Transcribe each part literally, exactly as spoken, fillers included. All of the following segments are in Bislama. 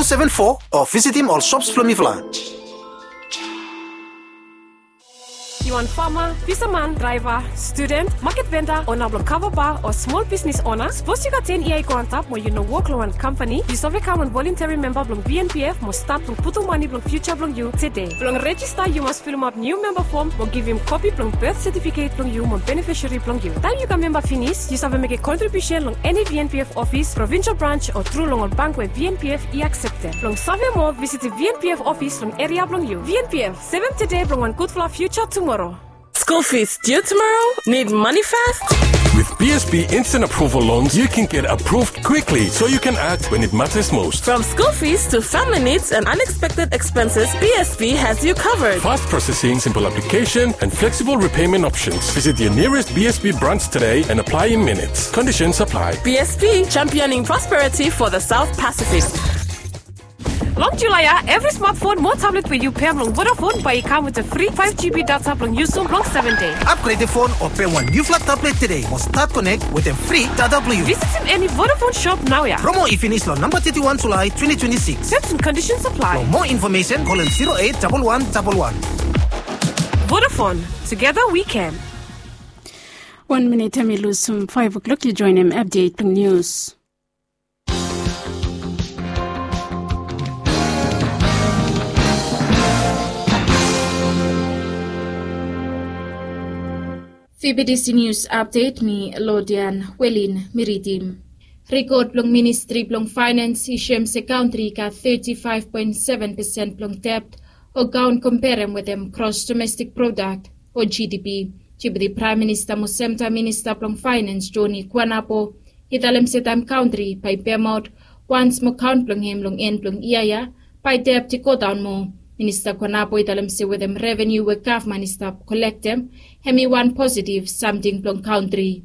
seven four o visitim ol shops blong mifala. Yu wan fama, fisaman, draiva, studen, maket venda, ona blong kava ba o smol bisnis ona? Sapos yu gat ten yia i go antap mo yu no wok long wan kampani, yu save kam wan volunteri memba blong V N P F mo stat blong putum mane blong fiuja blong yu tede. Blong rejista yu mas filimap niu memba fom mo givim kopi blong bet setifiket blong yu mo benefisari blong yu. Taem yu kam memba finis, yu save mekem kontribiusen long eni V N P F ofis, provinsel brans o tru long ol bank we V N P F i akseptem. Blong save moa, visitim V N P F ofis long eria blong yu. V N P F, sevem tede blong wan gudfala fiuja tumoro. School fees due tomorrow? Need money fast? With B S B Instant Approval Loans, you can get approved quickly so you can act when it matters most. From school fees to family needs and unexpected expenses, B S B has you covered. Fast processing, simple application, and flexible repayment options. Visit your nearest B S B branch today and apply in minutes. Conditions apply. B S B, championing prosperity for the South Pacific. Long Julae ya, evri smatfon mo tablet we yu pem long Vodafone bae i kam wetem fri five G B data blong yusum long seven dei. Upgrade fon o pem wan niufala tablet tede mo stat konek wetem fri data blong yu. Visitim eni Vodafone shop naoia. Promo i finis long namba teti wan Julae twenty twenty six. Terms and conditions apply. Mo infomesen, kolem zero eight double one double one. Vodafone, together we can. Wan minit hemi lusum faef o'klok, yu joenem apdet blong nius. Fi B B C News Update, mi Lodian Welin mi ridim. Rikod blong Ministri blong Faenens i soem se kantri i gat teti faef poen seven pesen blong debt o kaon komperem wetem gros domestik prodak o G D P. Deputi Praem Minista mo semtaem Minista blong Faenens Joni Kuanapo i talem se taem kantri bae i pemaot wans mo kaon blong hem long en blong yia ya, bae debt i godaon moa. Minista Kuanapo i talem se wetem revenu we gavman i stap kolektem, hemi wan positiv samting blong kantri.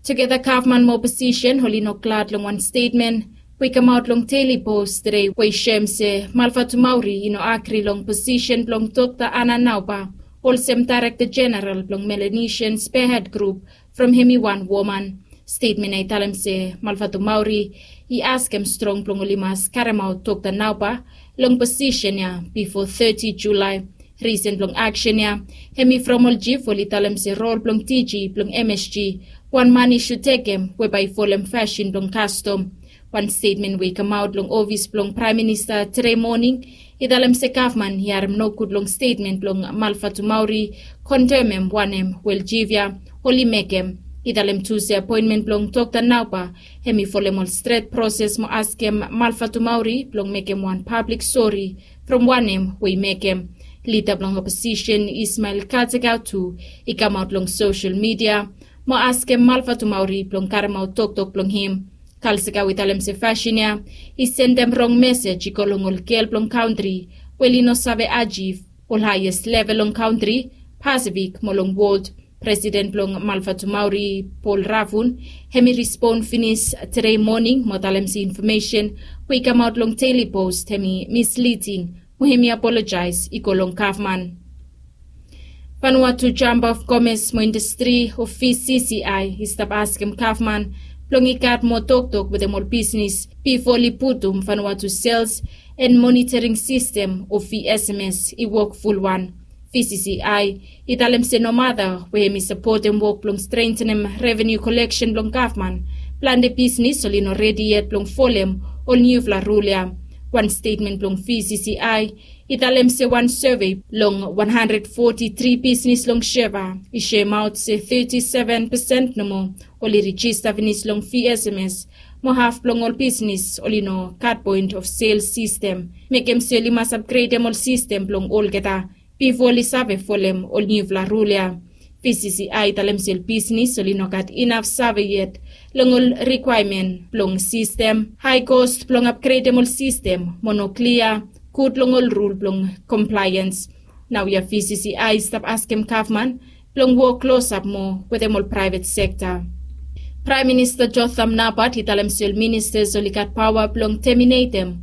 Tugeta gavman mo oposisen oli no glad long wan stetmen we i kamaot long Daily Post tede we i soem se Malvatumauri i no agri long posisen blong Dokta Ana Nauba olsem Daerekta Jeneral blong Melanesian Spearhead Group from hemi wan woman. Stetmen ya i talem se Malvatumauri i askem strong blong oli mas karemaot Dokta Nauba long posisen ya bifo teti Julae. Risen blong aksen ya hemi from ol jif oli talem se rol blong D G blong M S G, wan man i sud tekem we bae i folem fasin blong kastom. Wan stetmen we i kamaot long ofis blong Praem Minista tede moning i talem se gavman i harem nogud long stetmen blong Malvatumauri, kondemem wanem we ol jif ya oli mekem. I talem tu se apoenmen blong Dokta Nauba hemi folem ol stret proses mo askem Malvatumauri blong mekem wan pablik sori from wanem we i mekem. Lida blong oposisen Ismael Kategau tu i kamaot long sosel midia mo askem Malvatumauri blong karemaot toktok blong hem. Kalsika we i talem se fasin ya i sendem rong mesej i go long ol gel blong kantri we oli no save ajiv ol haes level long kantri, Pasifik mo long wol. Presiden blong Malvatumauri, Paul Ravun, hemi respon finis tede moning mo talem se infomesen we i kamaot long Daily Post hemi misliding mo hemi apolojaes i go long gavman. Vanuatu Chamber of Commerce mo Indastri o V C C I i stap askem gavman blong i gat moa toktok wetem ol bisnis bifo oli putum Vanuatu Sales and Monitoring System o V S M S i wok fulwan. V C C I i talem se nomata we hemi sapotem wok blong strentenem revenu koleksen blong gavman, plante bisnis oli no redi yet blong folem ol niufala rul ya. Wan stetmen blong V C C I i talem se wan sove long wan handred foti tri bisnis long Suva i soemaot se teti seven pesen nomo oli rejista finis long V S M S, mo haf blong ol bisnis oli no gat point of sales sistem. Mekem se oli mas apgredem ol sistem blong olgeta bifo oli save folem ol niufala rul ya. V C C I i talem se ol bisnis oli no gat inaf save yet long ol rikwaemen blong sistem, hae kos blong apgredem ol sistem mo no klia gud long ol rul blong komplaeans. Naoia V C C I i stap askem gavman blong wok klosap moa wetem ol praevet sekta. Praem Minista Jotham Napat i talem se ol ministas oli gat paoa blong teminetem